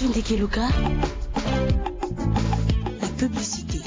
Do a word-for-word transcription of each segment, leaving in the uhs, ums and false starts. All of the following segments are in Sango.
Ndeke Luka, la publicité.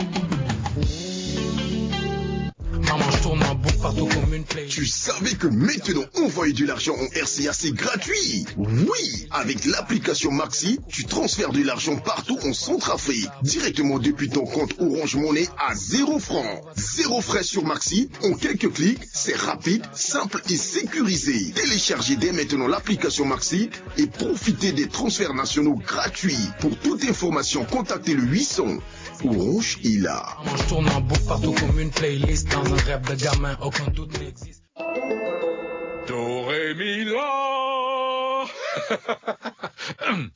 Maman, je tourne ma boucle partout comme une playlist. Tu savais que maintenant envoyer de l'argent en R C A c'est gratuit ? Oui, avec l'application Maxi, tu transfères de l'argent partout en Centrafrique, directement depuis ton compte Orange Money à zéro franc. Zéro frais sur Maxi, en quelques clics, c'est rapide, simple et sécurisé. Téléchargez dès maintenant l'application Maxi et profitez des transferts nationaux gratuits. Pour toute information, contactez le huit cents. Orange est là. Maman, je tourne ma boucle partout comme une playlist. Dans un rêve de gamin, aucun doute n'existe. Do, ré, mi, la.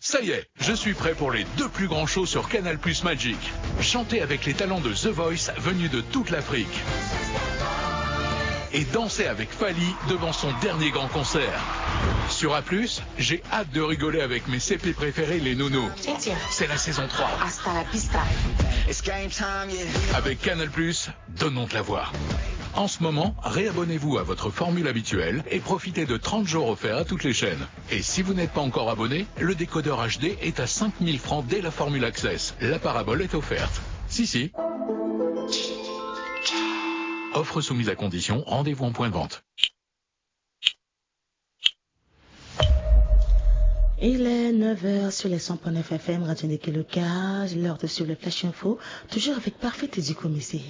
Ça y est, je suis prêt pour les deux plus grands shows sur Canal Plus Magic. Chantez avec les talents de The Voice venus de toute l'Afrique. Et dansez avec Fally devant son dernier grand concert. Sur A plus, j'ai hâte de rigoler avec mes C P préférés, les nounous. C'est la saison trois. Hasta la vista. Avec Canal Plus, donnons de la voix. En ce moment, réabonnez-vous à votre formule habituelle et profitez de trente jours offerts à toutes les chaînes. Et si vous n'êtes pas encore abonné, le décodeur H D est à cinq mille francs dès la formule Access. La parabole est offerte. Si, si. Offre soumise à condition, rendez-vous en point de vente. Il est neuf heures sur les cent point neuf F M, Radio Ndeke Luka. L'heure de suivre le Flash Info, toujours avec Parfait Teddy Komissé.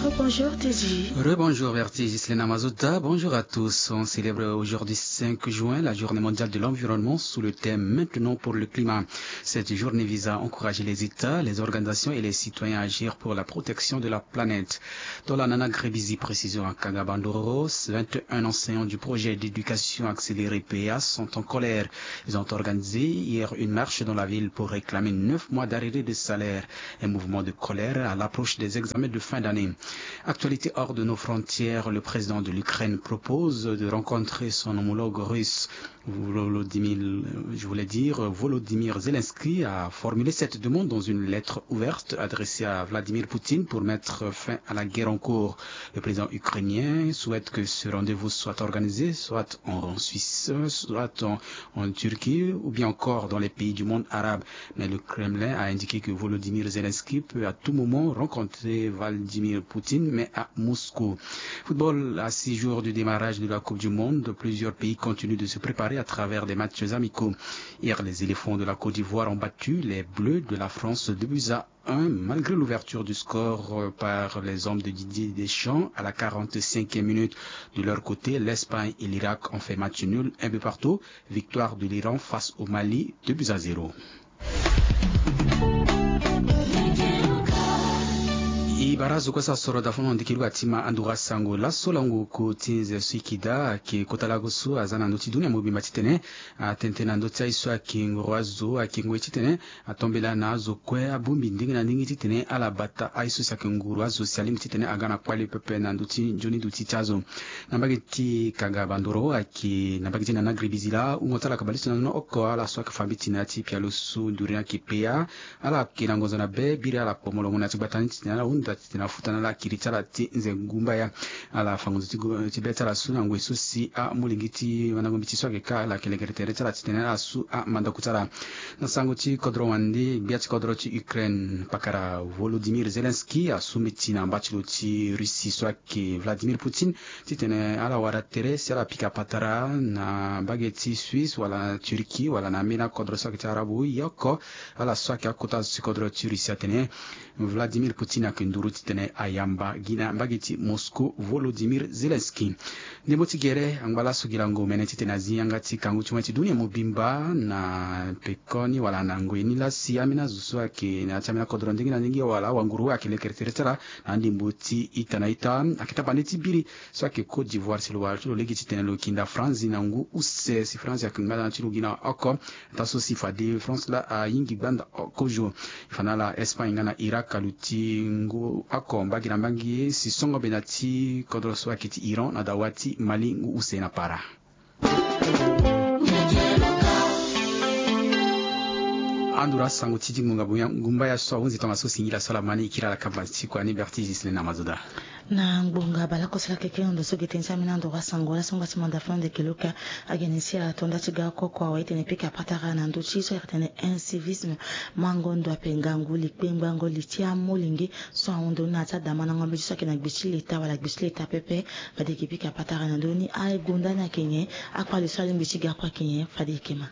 Rebonjour Teddy. Rebonjour Vertige, Islena Mazota. Bonjour à tous. On célèbre aujourd'hui cinq juin la journée mondiale de l'environnement sous le thème Maintenant pour le climat. Cette journée vise à encourager les États, les organisations et les citoyens à agir pour la protection de la planète. Dans la Nana Grebizi, précision à Kagabandoro, vingt et un enseignants du projet d'éducation accélérée P A sont en colère. Ils ont organisé hier une marche dans la ville pour réclamer neuf mois d'arrêté de salaire. Un mouvement de colère à l'approche des examens de fin d'année. Actualité hors de nos frontières, le président de l'Ukraine propose de rencontrer son homologue russe. Volodymyr, je voulais dire, Volodymyr Zelensky a formulé cette demande dans une lettre ouverte adressée à Vladimir Poutine pour mettre fin à la guerre en cours. Le président ukrainien souhaite que ce rendez-vous soit organisé soit en Suisse, soit en, en Turquie ou bien encore dans les pays du monde arabe. Mais le Kremlin a indiqué que Volodymyr Zelensky peut à tout moment rencontrer Vladimir Poutine, mais à Moscou. Football, à six jours du démarrage de la Coupe du Monde, plusieurs pays continuent de se préparer à travers des matchs amicaux. Hier, les éléphants de la Côte d'Ivoire ont battu les Bleus de la France deux buts à un, malgré l'ouverture du score par les hommes de Didier Deschamps à la quarante-cinquième minute. De leur côté, l'Espagne et l'Irak ont fait match nul, un but partout. Victoire de l'Iran face au Mali, deux buts à zéro. E bara zo kue so asoro da fo na ndiki luka ti ma anduka sango laso lango ko ti nze so e yeke daa ayeke kota lago so aza na ndö ti dunia mobimba titene atene tënë na ndö ti aye so ayeke ngoro azo ayeke ngoi titene atombela na azo kue abongbi ndenge na ndenge titene ala bata aye so si ayeke nguru azo si alingbi titene aga na kpale pepe na ndö ti nzoni duti ti azo. Na mbage ti Kaga Bandoro ayeke na mbage ti Nana Gribizila, hungo ti ala ayeke bale ti na nono oko ala so ayeke fa mbeti na ya ti pialo so nduri ni ayeke paya. Ala yeke na ngonzo na be biri ala kpo molongo na ya ti gbata ni titene ala hunda titene afuta na ala kiri ti ala ti nze ngumbaya. Ala fa ngonzo ti be ti ala so na ngoi so si amolenge ti mandango mbeti so ayeke ka ala yeke lekere tere ti ala titene ala su amandako ti ala. Na sango ti kodro wande, gbia ti kodro ti Ukraine pakara Volodymyr Zelensky asu mbeti na mba ti lo ti Russie so ayeke Vladimir Poutine titene ala wara tere si ala pika patara na mbage ti Suisse wala na Turquie wala na ambeni akodro so ayeke ti Arabu. Ye oko ala so ayeke akota azo ti kodro ti Russie atene Vladimir Poutine ayeke nduru titene ayamba gi na mbage ti Moscou Volodymyr Zelensky. Ndembo ti gere angba laso gi lango mene titene azi yanga ti kangu ti mo ti dunia mobimba na pekoni wala na ngoi ni laa si ambeni azo so ayeke na ya ti ambeni akodro ndenge na ndenge wala awanguru ayeke lekere tere ti ala na andembo ti ita na ita ayeke tapande ti biri so ayeke Côte d'Ivoire si lo wara ti lo lege titene lo yeke nda Franzi na ngu use si Franzi ayeke ngbanda ti lo gi na oko. Ataa so si fade France laa ayingi gbanda oko zo. E fa na ala Espagne nga na Irak aluti ngu oko mbage na mbage si songo be na ti kodro so ayeke ti Iran na dawa ti Mali ngu use na para. Andura sango ti di ngbonga boya ngumba ya so ahunzi tongaso singila so ala ma ni ikiri ala kamba ti kua ni berti gisle na mazoda. Na ngbonga bala koso lakeke na ndo so gete ni ti amina ndoro asango wala so ngba ti manda fana ndeke loka. Agene si ala tonda ti ga oko kua wa itene pika patara na ndo ti so ayeke tene incivisme. Mango ndo ape ngangu likpengbango li ti amolenge so ahundu na ti adamandango mbeti so ayeke na gbe ti leta wala gbe ti leta pepe. Fade eke pika patara na ndo ni agonda ni ayeke nyen? Akpale so alingbi ti ga kue ayeke nyen? Fade eke ma.